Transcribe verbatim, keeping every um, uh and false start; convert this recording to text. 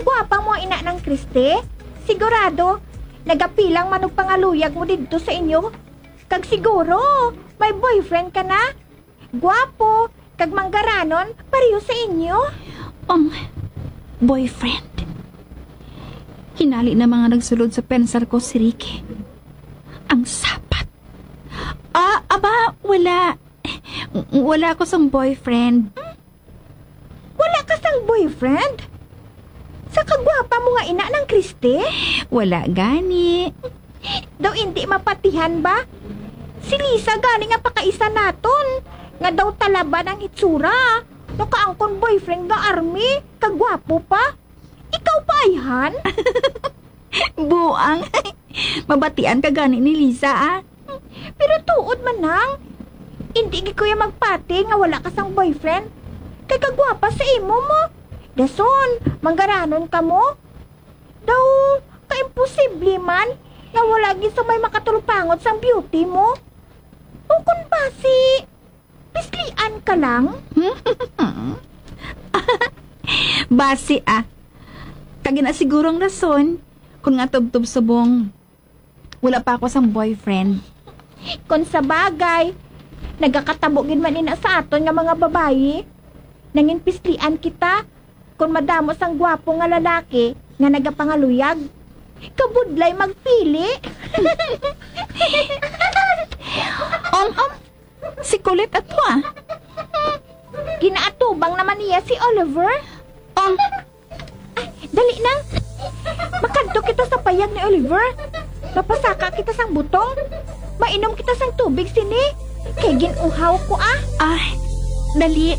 Gwapa mo ina, Nang Christy. Sigurado, nagapilang man og pangaluyag mo didto sa inyo. Kag siguro, may boyfriend ka na. Gwapo, kag manggaranon, pareho sa inyo. Um, boyfriend. Hinali na mga nagsulod sa pensar ko si Ricky. Ang sapat. Ah, aba, wala. Wala ko sang boyfriend. Wala ka sang boyfriend? Sa kagwapa mo nga ina, Nang Christy? Wala gani. Daw indi mapatihan ba? Si Lisa gani nga pakaisa naton, nga daw talaban ang hitsura. Nakaangkon boyfriend nga army, kagwapo pa. Ikaw pa, ayhan? Buang. Mabatian ka gani ni Lisa, ah. Pero tuod man, Nang. Indi gid ko ya magpati nga wala ka sang boyfriend. Kay kagwapa sa imo mo. Dason, manggaranon ka mo. Daw, kaimposible man nga wala gid sa may makatulpangot sang beauty mo. O kun basi, pislian ka lang? Basi, ah. Kag ina siguro ang rason kung nga tubtob subong wala pa ako sang boyfriend. Kon sa bagay, nagakatabo gid man ina sa aton nga mga babayi. Nangin pislian kita kon madamo sang gwapo nga lalaki nga nagapangaluyag. Kabudlay magpili. Om, om, si Colette ato, ah. Ginaatubang naman niya si Oliver. Om, Ay, dali na. Makadto kita sa payag ni Oliver. Mapasaka kita sang butong. Mainom kita sang tubig sini. Kay gin-uhaw ko, ah. Ah, dali.